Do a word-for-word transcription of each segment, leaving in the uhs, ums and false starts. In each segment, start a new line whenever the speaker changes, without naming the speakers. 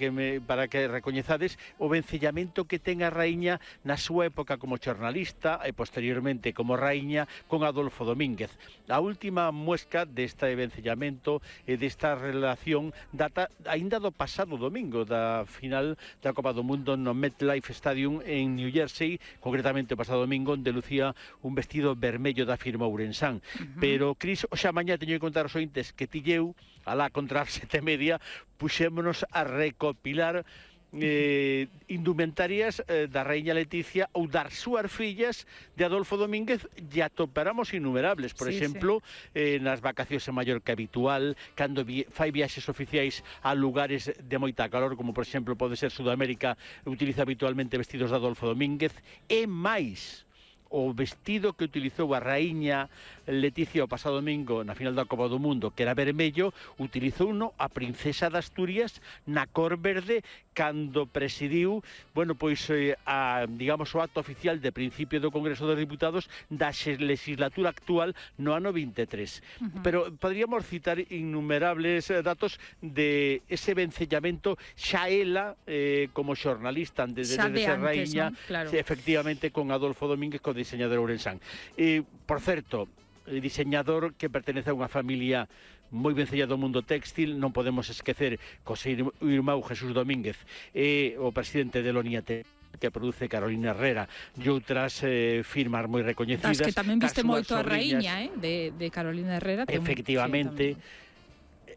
que me, para que recoñezades o vencellamento que ten a raíña na súa época como xornalista e posteriormente como raíña con Adolfo Domínguez. A última muesca deste vencellamento e desta relación data aínda do pasado domingo da final da Copa do Mundo no MetLife Stadium en New Jersey, concretamente o pasado domingo, onde lucía un vestido vermello da firma Ourensán. Uh-huh. Pero, Cris, xa mañá teño que contar aos ointes que tilleu, alá contra as sete e media, puxémonos a recopilar Eh, indumentarias eh, da Raíña Leticia ou das súas fillas de Adolfo Domínguez, e atoparamos innumerables, por sí, exemplo sí. Eh, nas vacacións en Mallorca habitual, cando vi, fai viaxes oficiais a lugares de moita calor, como por exemplo pode ser Sudamérica, utiliza habitualmente vestidos de Adolfo Domínguez, e máis o vestido que utilizou a raíña Leticia o pasado domingo na final da Copa do Mundo, que era vermello, utilizouno a princesa de Asturias na cor verde cando presidiu, bueno, pois eh, a, digamos, o acto oficial de principio do Congreso dos Diputados da legislatura actual no ano vinte e tres. Uh-huh. Pero podríamos citar innumerables eh, datos de ese vencellamento xa ela eh, como xornalista antes de, de, de ser raíña, ¿no? Claro. Efectivamente con Adolfo Domínguez, co diseñador Ourensán. Eh, por certo, diseñador que pertenece a unha familia moi vencella do mundo téxtil, non podemos esquecer co seu irmão Jesús Domínguez, e o presidente de Loniate, que produce Carolina Herrera e outras eh, firmas moi recoñecidas.
Das que tamén viste moito a raíña, eh, de, de Carolina Herrera.
Efectivamente. Sí,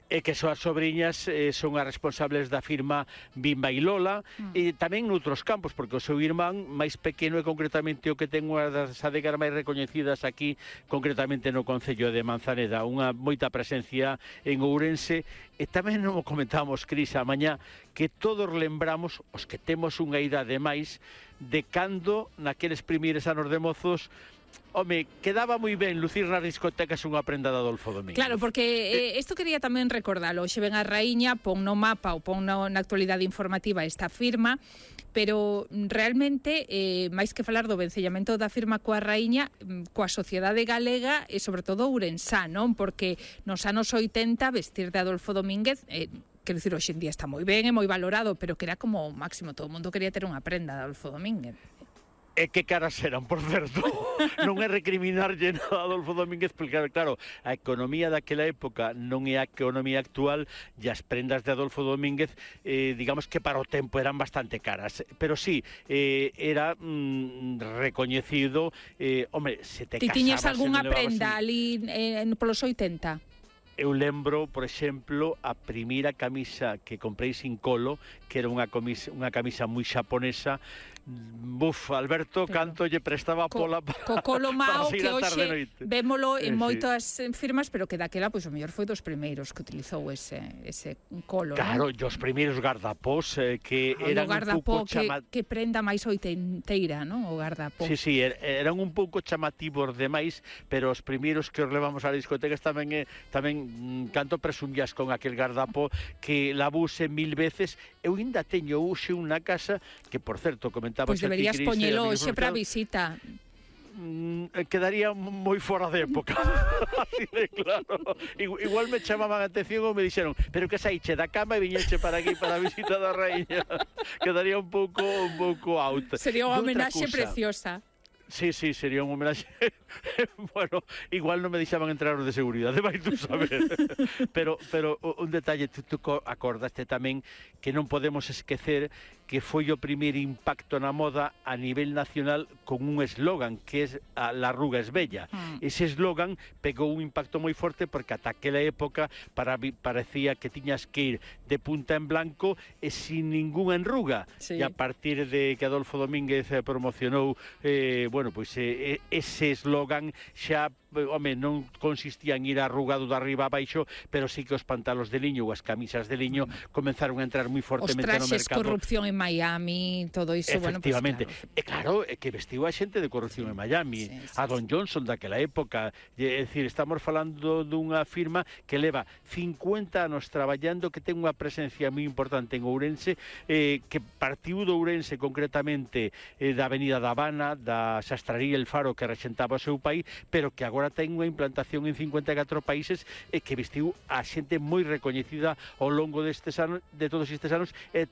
e que súas sobriñas eh, son as responsables da firma Bimba e Lola, mm. e tamén noutros campos, porque o seu irmán máis pequeno é concretamente o que ten unha das adegas máis recoñecidas aquí, concretamente no concello de Manzaneda, unha moita presencia en Ourense. E tamén non o comentamos, Cris, a mañá, que todos lembramos, os que temos unha idade máis, de cando naqueles primeiros anos de mozos, home, quedaba moi ben lucir nas discotecas unha prenda de Adolfo Domínguez.
Claro, porque isto eh, quería tamén recordalo. Xe ven a raíña, pon no mapa ou pon no, na actualidade informativa esta firma, pero realmente, eh, máis que falar do vencellamento da firma coa raíña, coa sociedade galega e sobre todo ourensá, non? Porque nos anos oitenta vestir de Adolfo Domínguez... Eh, quero dicir, hoxe en día está moi ben e moi valorado, pero que era como o máximo, todo o mundo quería ter unha prenda de Adolfo Domínguez.
E que caras eran, por certo. Non é recriminarlle a Adolfo Domínguez, porque claro, a economía daquela época non é a economía actual, e as prendas de Adolfo Domínguez, eh, digamos que para o tempo eran bastante caras. Pero sí, eh, era mm, recoñecido, eh, hombre, se te
casabas... Ti tiñas algunha prenda
así...
ali eh, polos oitenta?
Eu lembro, por exemplo, a primeira camisa que comprei sin colo, que era unha camisa, unha camisa moi xaponesa. Buf, Alberto, claro. Canto lle prestaba
co,
pola para,
co colo mao que hoxe vémolo en
eh,
moitas
sí.
firmas, pero que daquela, pois, o mellor foi dos primeiros que utilizou ese, ese colo.
Claro,
¿no?
Os primeiros gardapós eh, que ah, eran un pouco
que, chama... que prenda máis oitenteira, non? O gardapó.
Sí, sí, er, eran un pouco chamativos demais, pero os primeiros que os levamos a discotecas tamén é, tamén canto presumías con aquel gardapó que la buse mil veces. Eu ainda teño hoxe unha casa que, por certo, comentaba
pois pues deberías poñelo hoxe para visita.
Mm, quedaría moi fora de época. Así de claro. Igual me chamaban a atención ou me dixeron, pero que saiche da cama e viñeche para aquí para a visita da raíña. Quedaría un pouco un pouco out.
Sería unha homenaxe preciosa.
Sí, sí, sería un homenaxe. Bueno, igual non me deixaban entrar os de seguridade, vai tú saber. Pero, pero un detalle, tú, tú acordaste tamén que non podemos esquecer que foi o primeiro impacto na moda a nivel nacional con un eslogan que é a la arruga es bella. Mm. Ese eslogan pegou un impacto moi forte porque ata aquela época para, parecía que tiñas que ir de punta en blanco e sin ninguna enruga. Sí. E a partir de que Adolfo Domínguez promocionou eh, bueno, pois eh, ese eslogan xa, home, non consistía en ir arrugado de arriba a baixo, pero sí que os pantalos de liño ou as camisas de liño mm. comenzaron a entrar moi fortemente no mercado.
Os traxes, corrupción en Miami, todo iso, bueno, pues
efectivamente.
Claro.
E claro, é que vestiu a xente de corrupción sí, en Miami, sí, sí, a Don Johnson daquela época. É dicir, estamos falando dunha firma que leva cincuenta anos traballando, que ten unha presencia moi importante en Ourense, eh, que partiu de Ourense concretamente eh, da Avenida da Habana, da Sastraría El Faro, que rexentaba o seu país, pero que agora ten unha implantación en cincuenta e catro países e que vestiu a xente moi recoñecida ao longo destes anos, de todos estes anos, e